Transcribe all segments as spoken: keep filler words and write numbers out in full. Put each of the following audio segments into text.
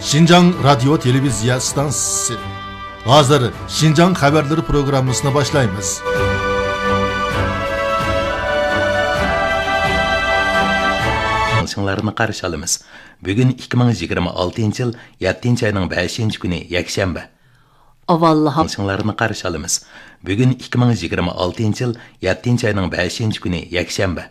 شىنجاڭ رادىيو تېلېۋىزىيە ئىستانسىسى. ھازىر شىنجاڭ خەۋەرلىرى پروگراممىسىنى باشلايمىز. ئاڭلىشىڭلارنى قارشى ئالىمىز. بۈگۈن ئىككى مىڭ يىگىرمە ئالتىنچى يىل يەتتىنچى ئاينىڭ بەشىنچى كۈنى، يەكشەنبە. ئاۋۋال ھاۋا ئاڭلىشىڭلارنى قارشى ئالىمىز. بۈگۈن ئىككى مىڭ يىگىرمە ئالتىنچى يىل يەتتىنچى ئاينىڭ بەشىنچى كۈنى، يەكشەنبە.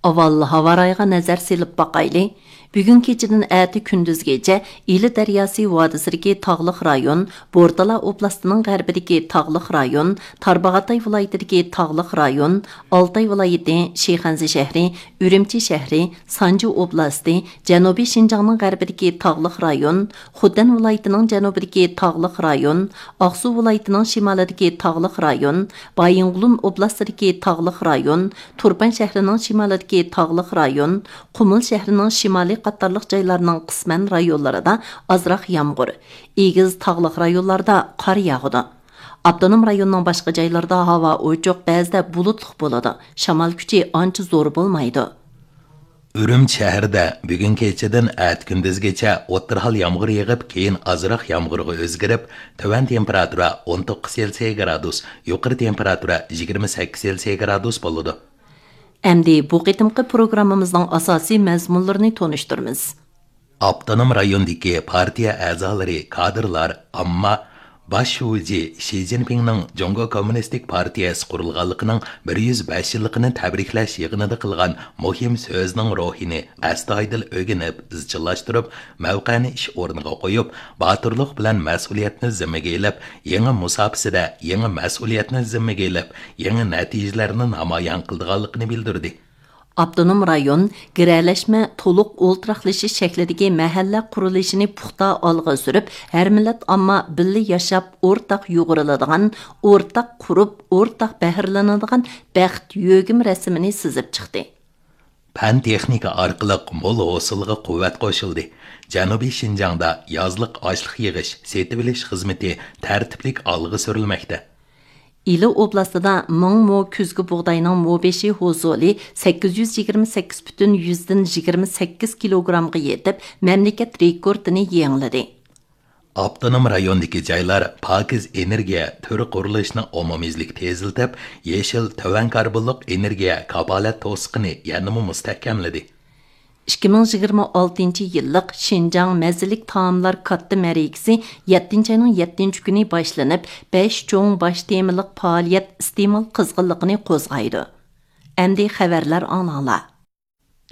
ئاۋۋال ھاۋا رايىغا نەزەر سېلىپ باقايلى. بۈگۈن كېچىدىن ئەتە كۈندۈزگىچە ئىلى دەرياسى ۋادىسىدىكى تاغلىق رايون، بورتالا ئوبلاستىنىڭ غەربىدىكى تاغلىق رايون، تارباغاتاي ۋىلايىتىدىكى تاغلىق رايون، ئالتاي ۋىلايىتى، شىخەنزە شەھىرى، ئۈرۈمچى شەھىرى، سانجى ئوبلاستى، جەنۇبىي شىنجاڭنىڭ غەربىدىكى تاغلىق رايون، خوتەن ۋىلايىتىنىڭ جەنۇبىدىكى تاغلىق رايون، ئاقسۇ ۋىلايىتىنىڭ شىمالىدىكى تاغلىق رايون، بايىنغولىن ئوبلاستىدىكى تاغلىق رايون، تۇرپان شەھىرىنىڭ شىمالىدىكى تاغلىق رايون، قۇمۇل شەھىرىنىڭ شىمالى قاتارلىق جايلارنىڭ قىسمەن رايونلىرىدا ئازراق يامغۇر، ئېگىز تاغلىق رايونلاردا قار ياغىدۇ. ئاپتونوم رايوننىڭ باشقا جايلىرىدا ھاۋا ئوچۇق، بەزىدە بۇلۇتلۇق بولىدۇ. شامال كۈچى ئانچە زور بولمايدۇ. ئۈرۈمچى شەھىرىدە بۈگۈن كېچىدىن ئەتە كۈندۈزگىچە ئوتتۇرا ھال يامغۇر يېغىپ، كېيىن ئازراق يامغۇرغا ئۆزگىرىپ، تۆۋەن تېمپېراتۇرا ئون توققۇز سېلسىيە گرادۇس، يۇقىرى تېمپېراتۇرا يىگىرمە سەككىز سېلسىيە گرادۇس بولىدۇ. ئەمدى بۇ قېتىمقى پروگراممىمىزنىڭ ئاساسىي مەزمۇنلىرىنى تونۇشتۇرىمىز. ئاپتونوم رايوندىكى پارتىيە ئەزالىرى، كادىرلار، ئامما باش شۇجى شى جىنپىڭنىڭ جۇڭگو كوممۇنىستىك پارتىيەسى قۇرۇلغانلىقىنىڭ بىر يۈز بەش يىللىقىنى تەبرىكلەش يىغىنىدا قىلغان مۇھىم سۆزىنىڭ روھىنى ئەستايىدىل ئۆگىنىپ، ئىزچىللاشتۇرۇپ، مەۋقەنى ئىش ئورنىغا قويۇپ، باتۇرلۇق بىلەن مەسئۇلىيەتنى زىممىگە ئېلىپ، يېڭى مۇساپىسىدە يېڭى مەسئۇلىيەتنى زىممىگە ئېلىپ، يېڭى نەتىجىلەرنى نامايان قىلىدىغانلىقىنى بىلدۈردى. ئاپتونوم رايون گىرەلەشمە، تولۇق ئولتۇراقلىشىش شەكلىدىكى مەھەللە قۇرۇلۇشىنى پۇختا ئالغا سۈرۈپ، ھەر مىللەت ئامما بىللە ياشاپ، ئورتاق يۇغۇرۇلىدىغان، ئورتاق قۇرۇپ، ئورتاق بەھرىلىنىدىغان بەخت يۆگىمە رەسىمىنى سىزىپ چىقتى. پەن-تېخنىكا ئارقىلىق مول ھوسۇلغا قۇۋۋەت قوشۇلدى. جەنۇبىي شىنجاڭدا يازلىق ئاشلىق يىغىش، سېتىۋېلىش خىزمىتى تەرتىپلىك ئالغا سۈرۈلمەكتە. ئىلى ئوبلاستىدا مىڭ مو كۈزگى بۇغداينىڭ مو بېشى ھوسۇلى سەككىز يۈز يىگىرمە سەككىز پۈتۈن يۈزدىن يىگىرمە سەككىز كىلوگرامغا يېتىپ، مەملىكەت رېكورتىنى يېڭىلىدى. ئاپتونوم رايوندىكى جايلار پاكىز ئېنېرگىيە تۈر قۇرۇلۇشىنى ئومۇميۈزلۈك تېزلىتىپ، يېشىل، تۆۋەن كاربونلۇق ئېنېرگىيە كاپالەت توسۇقىنى يەنىمۇ مۇستەھكەملىدى. ئىككى مىڭ يىگىرمە ئالتىنچى يىللىق شىنجاڭ مەززىلىك تائاملار كاتتا مەرىكىسى يەتتىنچى ئاينىڭ يەتتىنچى كۈنى باشلىنىپ، بەش چوڭ باش تېمىلىق پائالىيەت ئىستېمال قىزغىنلىقىنى قوزغايدۇ. ئەمدى خەۋەرلەر ئاڭلاڭلار.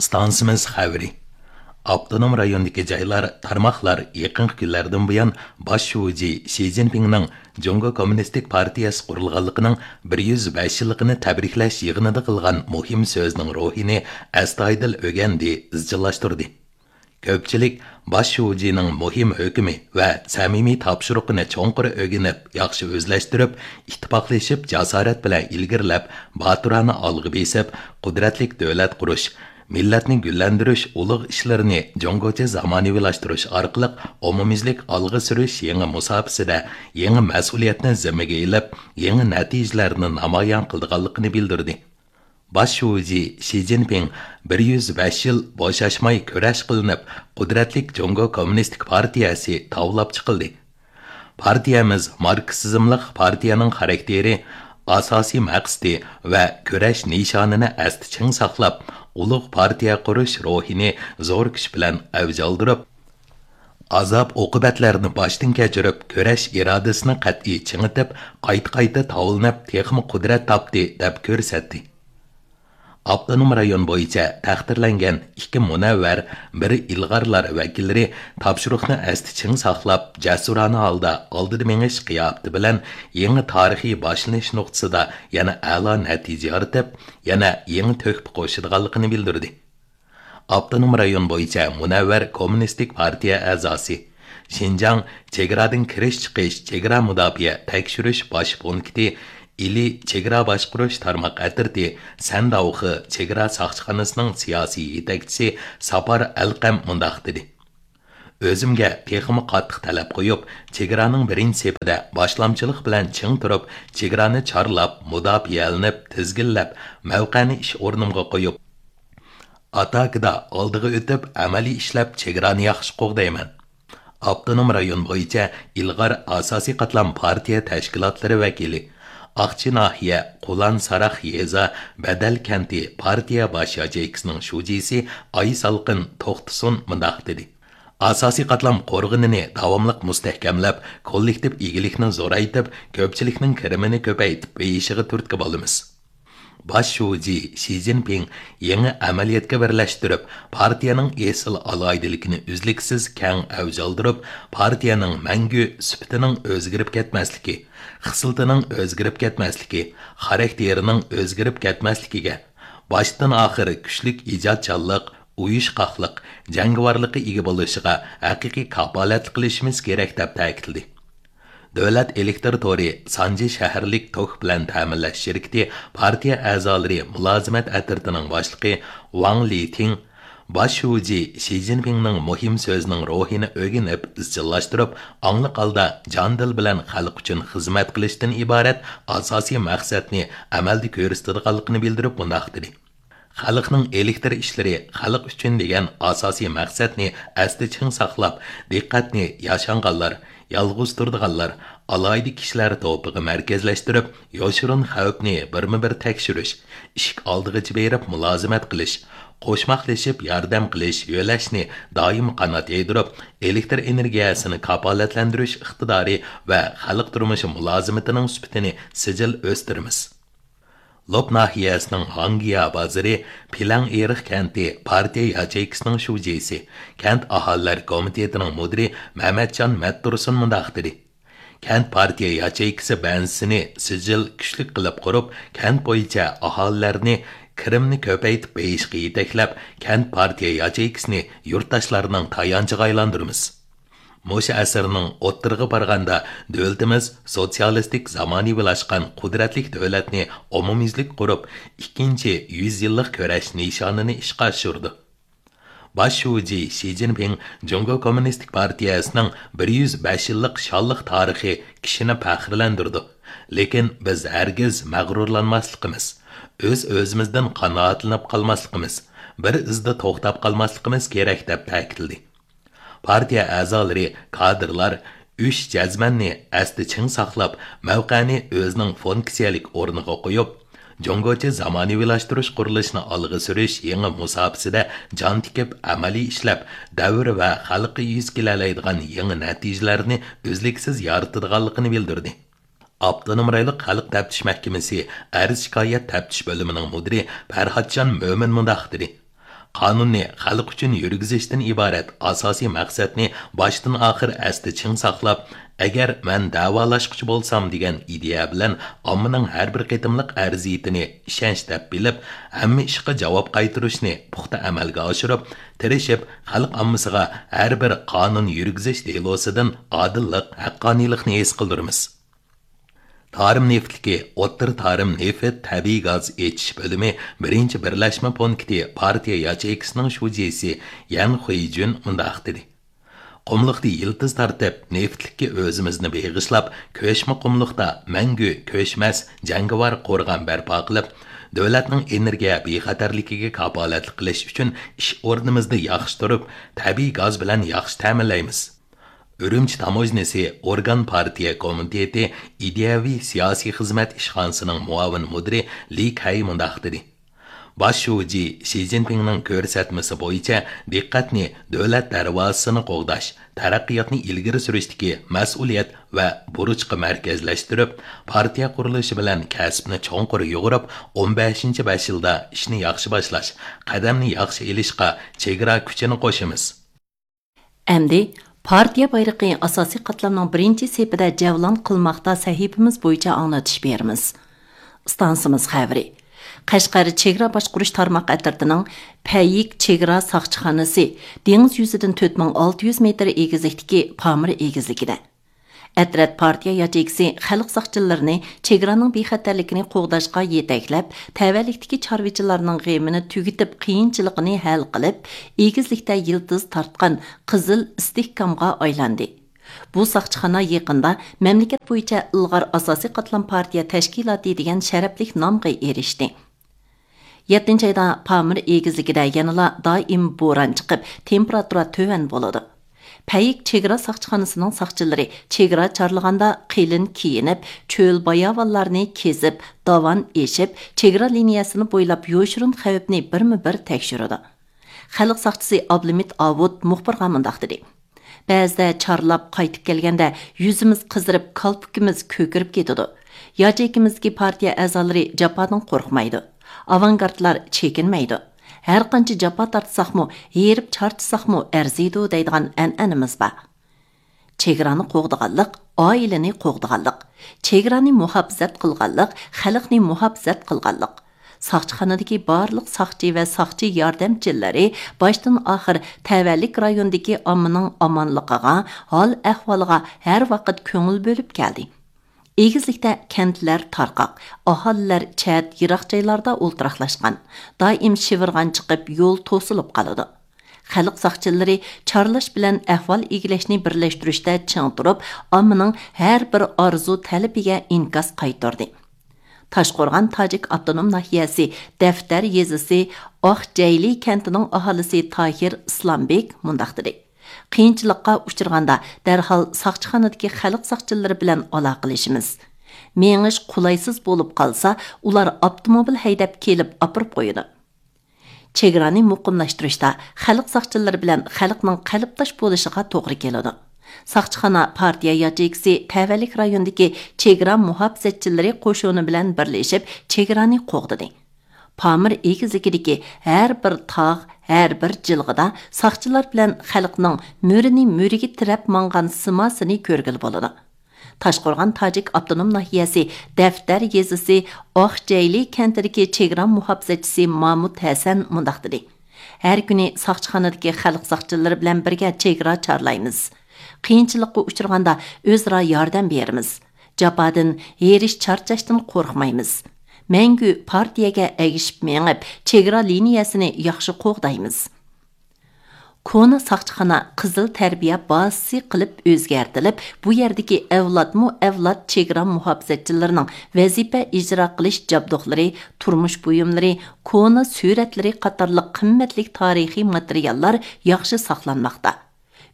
ئىستانسىمىز خەۋىرى. ئاپتونوم رايوندىكى جايلار، تارماقلار يېقىنقى كۈنلەردىن بۇيان باش شۇجى شى جىنپىڭنىڭ جۇڭگو كوممۇنىستىك پارتىيەسى قۇرۇلغانلىقىنىڭ بىر يۈز بەش يىللىقىنى تەبرىكلەش يىغىنىدا قىلغان مۇھىم سۆزىنىڭ روھىنى ئەستايىدىل ئۆگەندى، ئىزچىللاشتۇردى. كۆپچىلىك باش شۇجىنىڭ مۇھىم ھۆكمى ۋە سەمىمىي تاپشۇرۇقىنى چوڭقۇر ئۆگىنىپ، ياخشى ئۆزلەشتۈرۈپ، ئىتتىپاقلىشىپ، جاسارەت بىلەن ئىلگىرىلەپ، باتۇرانە ئالغا بېسىپ، قۇدرەتلىك دۆلەت قۇرۇش، مىللەتنى گۈللەندۈرۈش ئۇلۇغ ئىشلىرىنى جۇڭگوچە زامانىۋىلاشتۇرۇش ئارقىلىق ئومۇميۈزلۈك ئالغا سۈرۈش يېڭى مۇساپىسىدە يېڭى مەسئۇلىيەتنى زىممىگە ئېلىپ، يېڭى نەتىجىلەرنى نامايان قىلىدىغانلىقىنى بىلدۈردى. باش شۇجى شى جىنپىڭ بىر يۈز بەش يىل بوشاشماي كۈرەش قىلىنىپ، قۇدرەتلىك جۇڭگو كوممۇنىستىك پارتىيەسى تاۋلاپ چىقىلدى. پارتىيەمىز ماركسىزملىق پارتىيەنىڭ خاراكتېرى، ئاساسىي مەقسىتى ۋە كۈرەش نىشانىنى ئەستە چىڭ ساقلاپ، ئۇلۇغ پارتىيە قۇرۇش روھىنى زور كۈچ بىلەن ئەۋج ئالدۇرۇپ، ئازاب-ئوقۇبەتلەرنى باشتىن كەچۈرۈپ، كۈرەش ئىرادىسىنى قەتئىي چىڭىتىپ، قايتا-قايتا تاۋلىنىپ، تېخىمۇ قۇدرەت تاپتى، دەپ كۆرسەتتى. ئاپتونوم رايون بويىچە تەقدىرلەنگەن ئىككى مۇنەۋۋەر، بىر ئىلغارلار ۋەكىللىرى تاپشۇرۇقنى ئەستە چىڭ ساقلاپ، جەسۇرانە ھالدا ئالدىدا مېڭىش قىياپىتى بىلەن يېڭى تارىخىي باشلىنىش نۇقتىسىدا يەنە ئەلا نەتىجە يارىتىپ، يەنە يېڭى تۆھپە قوشىدىغانلىقىنى بىلدۈردى. ئاپتونوم رايون بويىچە مۇنەۋۋەر كوممۇنىستىك پارتىيە ئەزاسى، شىنجاڭ چېگرادىن كىرىش-چىقىش چېگرا مۇداپىئە تەكشۈرۈش باش پونكىتى ئىلى چېگرا باشقۇرۇش تارماق ئەترىتى سەنداۋخې چېگرا ساقچىخانىسىنىڭ سىياسىي يېتەكچىسى ساپار ئەلقەم مۇنداق دېدى: ئۆزۈمگە تېخىمۇ قاتتىق تەلەپ قويۇپ، چېگرانىڭ بىرىنچى سېپىدە باشلامچىلىق بىلەن چىڭ تۇرۇپ، چېگرانى چارلاپ، مۇداپىئەلىنىپ، تىزگىنلەپ، مەۋقەنى ئىش ئورنۇمغا قويۇپ، ئاتاكىدا ئالدىغا ئۆتۈپ، ئەمەلىي ئىشلەپ، چېگرانى ياخشى قوغدايمەن. ئاپتونوم رايون بويىچە ئىلغار ئاساسىي قاتلام پارتىيە تەشكىلاتلىرى ۋەكىلى، ئاقچى ناھىيە قۇلان ساراق يېزا بەدەل كەنتى پارتىيە باش ياچېيكىسىنىڭ شۇجىسى ئايسالقىن توختىسۇن مۇنداق دېدى: ئاساسىي قاتلام قورغىنىنى داۋاملىق مۇستەھكەملەپ، كوللېكتىپ ئىگىلىكنى زورايتىپ، كۆپچىلىكنىڭ كىرىمىنى كۆپەيتىپ بېيىشىغا تۈرتكە بولىمىز. باش شۇجى شى جىنپىڭ يېڭى ئەمەلىيەتكە بىرلەشتۈرۈپ، پارتىيەنىڭ ئېسىل ئالاھىدىلىكىنى ئۈزلۈكسىز كەڭ ئەۋج ئالدۇرۇپ، پارتىيەنىڭ مەڭگۈ سۈپىتىنىڭ ئۆزگىرىپ كەتمەسلىكى، خىسلىتىنىڭ ئۆزگىرىپ كەتمەسلىكى، خاراكتېرىنىڭ ئۆزگىرىپ كەتمەسلىكىگە، باشتىن ئاخىر كۈچلۈك ئىجادچانلىق، ئۇيۇشقاقلىق، جەڭگىۋارلىققا ئىگە بولۇشىغا ھەقىقىي كاپالەتلىك قىلىشىمىز كېرەك، دەپ تەكىتلىدى. دۆلەت ئېلېكتىر تورى سانجى شەھەرلىك توك بىلەن تەمىنلەش شىركىتى پارتىيە ئەزالىرى مۇلازىمەت ئەترىتىنىڭ باشلىقى ۋاڭ لىتىڭ باش شۇجى شى جىنپىڭنىڭ مۇھىم سۆزىنىڭ روھىنى ئۆگىنىپ ئىزچىللاشتۇرۇپ، ئاڭلىق ھالدا جان-دىل بىلەن خەلق ئۈچۈن خىزمەت قىلىشتىن ئىبارەت ئاساسىي مەقسەتنى ئەمەلدە كۆرسىتىدىغانلىقىنى بىلدۈرۈپ مۇنداق دېدى: خەلقنىڭ ئېلېكتىر ئىشلىرى خەلق ئۈچۈن دېگەن ئاساسىي مەقسەتنى ئەستە چىڭ ساقلاپ، دىققەتنى ياشانغانلار، يالغۇز تۇرىدىغانلار، ئالاھىدە كىشىلەر توپىغا مەركەزلەشتۈرۈپ، يوشۇرۇن خەۋپنى بىرمۇ بىر تەكشۈرۈش، ئىشىك ئالدىغىچە بېرىپ مۇلازىمەت قىلىش، قوشماقلىشىپ ياردەم قىلىش، يۆلەشنى دائىم قانات يايدۇرۇپ، ئېلېكتىر ئېنېرگىيەسىنى كاپالەتلەندۈرۈش ئىقتىدارى ۋە خەلق تۇرمۇشى مۇلازىمىتىنىڭ سۈپىتىنى سىجىل ئۆستۈرىمىز. لوپ ناھىيەسىنىڭ ھاڭگيا بازىرى پىلەڭ ئېرىق كەنتى پارتىيە ياچېيكىسىنىڭ شۇجىسى، كەنت ئاھالىلەر كومىتېتىنىڭ مۇدىرى مەمەتجان مەتتۇرسۇن مۇنداق دېدى: كەنت پارتىيە ياچېيكىسى بەنزىسىنى سىجىل كۈچلۈك قىلىپ قۇرۇپ، كەنت بويىچە ئاھالىلەرنى كىرىمنى كۆپەيتىپ بېيىشقا يېتەكلەپ، كەنت پارتىيە ياچېيكىسىنى يۇرتداشلارنىڭ تايانچىغا ئايلاندۇرىمىز. مۇشۇ ئەسىرنىڭ ئوتتۇرىغا بارغاندا، دۆلىتىمىز سوتسىيالىستىك زامانىۋىلاشقان قۇدرەتلىك دۆلەتنى ئومۇميۈزلۈك قۇرۇپ، ئىككىنچى يۈز يىللىق كۈرەش نىشانىنى ئىشقا ئاشۇرىدۇ. باش شۇجى شى جىنپىڭ جۇڭگو كوممۇنىستىك پارتىيەسىنىڭ بىر يۈز بەش يىللىق شانلىق تارىخى كىشىنى پەخىرلەندۈرىدۇ. لېكىن بىز ھەرگىز مەغرۇرلانماسلىقىمىز، ئۆز-ئۆزىمىزدىن قانائەتلىنىپ قالماسلىقىمىز، بىر ئىزدا توختاپ قالماسلىقىمىز كېرەك، دەپ تەكىتلىدى. پارتىيە ئەزالىرى، كادىرلار ئۈچ جەزمەننى ئەستە چىڭ ساقلاپ، مەۋقەنى ئۆزىنىڭ فۇنكسىيەلىك ئورنىغا قويۇپ، جۇڭگوچە زامانىۋىلاشتۇرۇش قۇرۇلۇشىنى ئالغا سۈرۈش يېڭى مۇساپىسىدە جان تىكىپ، ئەمەلىي ئىشلەپ، دەۋر ۋە خەلققە يۈز كېلەلەيدىغان يېڭى نەتىجىلەرنى ئۈزلۈكسىز يارىتىدىغانلىقىنى بىلدۈردى. ئاپتونوم رايونلۇق خەلق تەپتىش مەھكىمىسى ئەرز-شىكايەت تەپتىش بۆلۈمىنىڭ مۇدىرى پەرھاتجان مۆمىن مۇنداق دېدى: قانۇننى خەلق ئۈچۈن يۈرگۈزۈشتىن ئىبارەت ئاساسىي مەقسەتنى باشتىن-ئاخىر ئەستە چىڭ ساقلاپ، ئەگەر مەن دەۋالاشقۇچى بولسام دېگەن ئىدىيە بىلەن ئاممىنىڭ ھەر بىر قېتىملىق ئەرزىيىتىنى ئىشەنچ دەپ بىلىپ، ھەممە ئىشقا جاۋاب قايتۇرۇشنى پۇختا ئەمەلگە ئاشۇرۇپ، تىرىشىپ، خەلق ئاممىسىغا ھەر بىر قانۇن يۈرگۈزۈش دېلوسىدىن ئادىللىق، ھەققانىيلىقنى ھېس قىلدۇرىمىز. تارىم نېفىتلىكى ئوتتۇرا تارىم نېفىت تەبىئىي گاز ئېچىش بۆلۈمى بىرىنچى بىرلەشمە پونكىتى پارتىيە ياچېيكىسىنىڭ شۇجىسى يەن خۇيجۈن مۇنداق دېدى: قۇملۇقتا يىلتىز تارتىپ، نېفىتلىككە ئۆزىمىزنى بېغىشلاپ، كۆچمە قۇملۇقتا مەڭگۈ كۆچمەس جەڭگىۋار قورغان بەرپا قىلىپ، دۆلەتنىڭ ئېنېرگىيە بىخەتەرلىكىگە كاپالەتلىك قىلىش ئۈچۈن ئىش ئورنىمىزنى ياخشى تۇرۇپ، تەبىئىي گاز بىلەن ياخشى تەمىنلەيمىز. ئۈرۈمچى تاموژنىسى ئورگان پارتىيە كومىتېتى ئىدىيەۋى سىياسىي خىزمەت ئىشخانىسىنىڭ مۇئاۋىن مۇدىرى لى كەي مۇنداق دېدى: باش شۇجى شى جىنپىڭنىڭ كۆرسەتمىسى بويىچە دىققەتنى دۆلەت دەرۋازىسىنى قوغداش، تەرەققىياتنى ئىلگىرى سۈرۈشتىكى مەسئۇلىيەت ۋە بۇرچقا مەركەزلەشتۈرۈپ، پارتىيە قۇرۇلۇشى بىلەن كەسىپنى چوڭقۇر يۇغۇرۇپ، ئون بەشىنچى بەش يىلدا ئىشنى ياخشى باشلاش، قەدەمنى ياخشى ئېلىشقا چېگرا كۈچىنى قوشىمىز. ئەمدى پارتىيە بايرىقى ئاساسىي قاتلامنىڭ بىرىنچى سېپىدە جەۋلان قىلماقتا سەھىپىمىز بويىچە ئاڭلىتىش بېرىمىز. ئىستانسىمىز خەۋىرى. قەشقەر چېگرا باشقۇرۇش تارماق ئەترىتىنىڭ پەييىك چېگرا ساقچىخانىسى دېڭىز يۈزىدىن تۆت مىڭ ئالتە يۈز مېتىر ئېگىزلىكتىكى پامىر ئېگىزلىكىدە. ئەترەت پارتىيە ياچېيكىسى خەلق ساقچىلىرىنى چېگرانىڭ بىخەتەرلىكىنى قوغداشقا يېتەكلەپ، تەۋەلىكتىكى چارۋىچىلارنىڭ غېمىنى تۈگىتىپ، قىيىنچىلىقىنى ھەل قىلىپ، ئېگىزلىكتە يىلتىز تارتقان قىزىل ئىستىھكامغا ئايلاندى. بۇ ساقچىخانا يېقىندا مەملىكەت بويىچە ئىلغار ئاساسىي قاتلام پارتىيە تەشكىلاتى دېگەن شەرەپلىك نامغا ئېرىشتى. يەتتىنچى ئايدا پامىر ئېگىزلىكىدە يەنىلا دائىم بوران چىقىپ، تېمپېراتۇرا تۆۋەن بولىدۇ. پەيك چېگرا ساقچىخانىسىنىڭ ساقچىلىرى چېگرا چارلىغاندا قېلىن كىيىنىپ، چۆل باياۋانلارنى كېزىپ، داۋان ئېشىپ، چېگرا لىنىيەسىنى بويلاپ يوشۇرۇن خەۋپنى بىرمۇ بىر تەكشۈرىدۇ. خەلق ساقچىسى ئابلىمىت ئاۋۇت مۇخبىرغا مۇنداق دېدى: بەزىدە چارلاپ قايتىپ كەلگەندە يۈزىمىز قىزىرىپ، كالپۇكىمىز كۆكىرىپ كېتىدۇ. ياچېيكىمىزدىكى پارتىيە ئەزالىرى جاپادىن قورقمايدۇ. ئاۋانگارتلار چېكىنمەيدۇ. ھەرقانچە جاپا تارتساقمۇ، ھېرىپ چارچىساقمۇ ئەرزىيدۇ دەيدىغان ئەنئەنىمىز بار. چېگرانى قوغدىغانلىق، ئائىلىنى قوغدىغانلىق. چېگرانى مۇھاپىزەت قىلغانلىق، خەلقنى مۇھاپىزەت قىلغانلىق. ساقچىخانىدىكى بارلىق ساقچى ۋە ساقچى ياردەمچىلىرى باشتىن ئاخىر تەۋەلىك رايوندىكى ئاممىنىڭ ئامانلىقىغا، ھال ئەھۋالىغا ھەر ۋاقىت كۆڭۈل بۆلۈپ كەلدى. ئېگىزلىكتە كەنتلەر تارقاق، ئاھالىلەر چەت، يىراق جايلاردا ئولتۇراقلاشقان، دائىم شىۋىرغان چىقىپ، يول توسۇلۇپ قالىدۇ. خەلق ساقچىلىرى چارلاش بىلەن ئەھۋال ئىگىلەشنى بىرلەشتۈرۈشتە چىڭ تۇرۇپ، ئاممىنىڭ ھەر بىر ئارزۇ تەلىپىگە ئىنكاس قايتۇردى. تاشقورغان تاجىك ئاپتونوم ناھىيەسى دەفتەر يېزىسى ئاقجەيلى كەنتىنىڭ ئاھالىسى تاھىر ئىسلامبېك مۇنداق دېدى: قىيىنچىلىققا ئۇچرىغاندا دەرھال ساقچىخانىدىكى خەلق ساقچىلىرى بىلەن ئالاقىلىشىمىز. مېڭىش قولايسىز بولۇپ قالسا، ئۇلار ئاپتوموبىل ھەيدەپ كېلىپ ئاپىرىپ قويىدۇ. چېگرانى مۇقىملاشتۇرۇشتا خەلق ساقچىلىرى بىلەن خەلقنىڭ قەلبداش بولۇشىغا توغرا كېلىدۇ. ساقچىخانا پارتىيە ياچېيكىسى تەۋەلىك رايوندىكى چېگرا مۇھاپىزەتچىلىرى قوشۇنى بىلەن بىرلىشىپ چېگرانى قوغدىدى. پامىر ئېگىزلىكىدىكى ھەر بىر تاغ، ھەر بىر جىلغىدا ساقچىلار بىلەن خەلقنىڭ مۈرىنى مۈرىگە تىرەپ ماڭغان سىماسىنى كۆرگىلى بولىدۇ. تاشقورغان تاجىك ئاپتونوم ناھىيەسى دەفتەر يېزىسى ئاقجەيلى كەنتىدىكى چېگرا مۇھاپىزەتچىسى مامۇت ھەسەن مۇنداق دېدى: ھەر كۈنى ساقچىخانىدىكى خەلق ساقچىلىرى بىلەن بىرگە چېگرا چارلايمىز. قىيىنچىلىققا ئۇچرىغاندا ئۆزئارا ياردەم بېرىمىز. جاپادىن، ھېرىش-چارچاشتىن قورقمايمىز. مەڭگۈ پارتىيەگە ئەگىشىپ مېڭىپ، چېگرا لىنىيەسىنى ياخشى قوغدايمىز. كونا ساقچىخانا قىزىل تەربىيە بازىسى قىلىپ ئۆزگەرتىلىپ، بۇ يەردىكى ئەۋلادمۇ ئەۋلاد چېگرا مۇھاپىزەتچىلىرىنىڭ ۋەزىپە ئىجرا قىلىش جابدۇقلىرى، تۇرمۇش بۇيۇملىرى، كونا سۈرەتلىرى قاتارلىق قىممەتلىك تارىخىي ماتېرىياللار ياخشى ساقلانماقتا.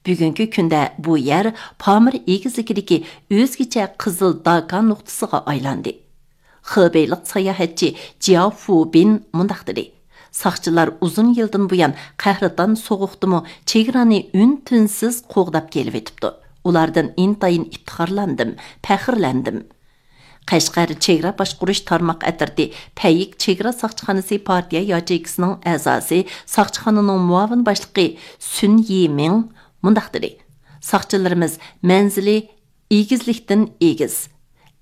بۈگۈنكى كۈندە بۇ يەر پامىر ئېگىزلىكىدىكى ئۆزگىچە قىزىل داكا نۇقتىسىغا ئايلاندى. خېبېيلىق ساياھەتچى جياۋ فۇبىن مۇنداق دېدى: ساقچىلار ئۇزۇن يىلدىن بۇيان قەھرىتان سوغۇقتىمۇ چېگرانى ئۈن-تىنسىز قوغداپ كېلىۋېتىپتۇ. ئۇلاردىن ئىنتايىن ئىپتىخارلاندىم، پەخىرلەندىم. قەشقەر چېگرا باشقۇرۇش تارماق ئەترىتى پەيك چېگرا ساقچىخانىسى پارتىيە ياچېيكىسىنىڭ ئەزاسى، ساقچىخانىنىڭ مۇئاۋىن باشلىقى سۈن يىمىڭ مۇنداق دېدى: ساقچىلىرىمىز مەنزىلى ئېگىزلىكتىن ئېگىز،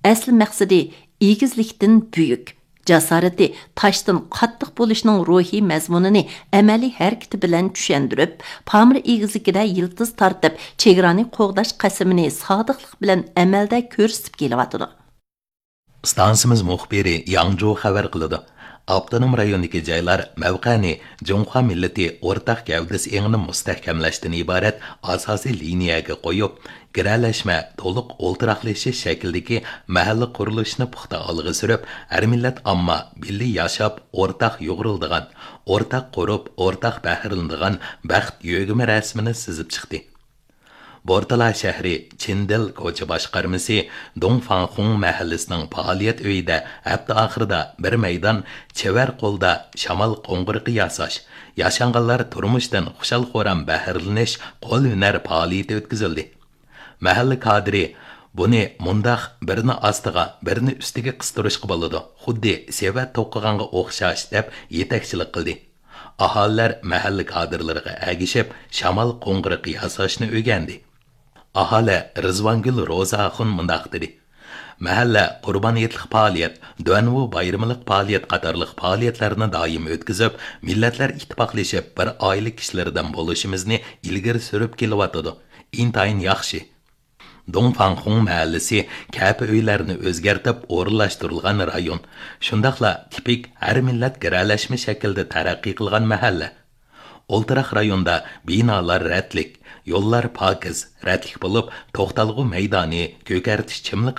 ئەسلى مەقسىتى ئېگىزلىكتىن بۈيۈك، جاسارىتى تاشتىن قاتتىق بولۇشنىڭ روھىي مەزمۇنىنى ئەمەلىي ھەرىكىتى بىلەن چۈشەندۈرۈپ، پامىر ئېگىزلىكىدە يىلتىز تارتىپ، چېگرانى قوغداش قەسىمىنى سادىقلىق بىلەن ئەمەلدە كۆرسىتىپ كېلىۋاتىدۇ. ئىستانسىمىز مۇخبىرى ياڭجۇ خەۋەر قىلىدۇ. ئاپتونوم رايوندىكى جايلار مەۋقەنى جۇڭخۇا مىللىتى ئورتاق گەۋدىسى ئېڭىنى مۇستەھكەملەشتىن ئىبارەت ئاساسىي لىنىيەگە قويۇپ، گىرەلەشمە، تولۇق ئولتۇراقلىشىش شەكلىدىكى مەھەللە قۇرۇلۇشىنى پۇختا ئالغا سۈرۈپ، ھەر مىللەت ئامما بىللە ياشاپ، ئورتاق يۇغۇرۇلىدىغان، ئورتاق قۇرۇپ، ئورتاق بەھرىلىنىدىغان بەخت يۆگىمە رەسىمىنى سىزىپ چىقتى. بورتالا شەھىرى چىندېل كوچا باشقارمىسى دۇڭفاڭخۇڭ مەھەللىسىنىڭ پائالىيەت ئۆيىدە ھەپتە ئاخىرىدا بىر مەيدان چېۋەر قولدا شامال قوڭغۇرىقى ياساش، ياشانغانلار تۇرمۇشتىن خۇشال-خۇرام بەھرىلىنىش قول ھۈنەر پائالىيىتى ئۆتكۈزۈلدى. مەھەللە كادىرى بۇنى مۇنداق بىرنى ئاستىغا، بىرنى ئۈستىگە قىستۇرۇشقا بولىدۇ، خۇددى سېۋەت توقۇغانغا ئوخشاش، دەپ يېتەكچىلىك قىلدى. ئاھالىلەر مەھەللە كادىرلىرىغا ئەگىشىپ، شامال قوڭغۇرىقى ياساشنى ئۆگەندى. ئاھالە رىزۋانگۈل روزا ئاخۇن مۇنداق دېدى: مەھەللە قۇربان ھېيتلىق پائالىيەت، دۇەنۋۇ بايرىمىلىق پائالىيەت قاتارلىق پائالىيەتلەرنى دائىم ئۆتكۈزۈپ، مىللەتلەر ئىتتىپاقلىشىپ، بىر ئائىلە كىشىلىرىدىن بولۇشىمىزنى ئىلگىرى سۈرۈپ كېلىۋاتىدۇ. ئىنتايىن ياخشى. دۇڭفاڭخۇڭ مەھەللىسى كەپە ئۆيلەرنى ئۆزگەرتىپ ئورۇنلاشتۇرۇلغان رايون، شۇنداقلا تىپىك ھەر مىللەت گىرەلەشمە شەكىلدە تەرەققىي قىلغان مەھەللە. ئولتۇراق رايوندا بىنالار رەتلىك، يوللار پاكىز، رەتلىك بولۇپ، توختالغۇ مەيدانى، كۆكەرتىش چىملىقى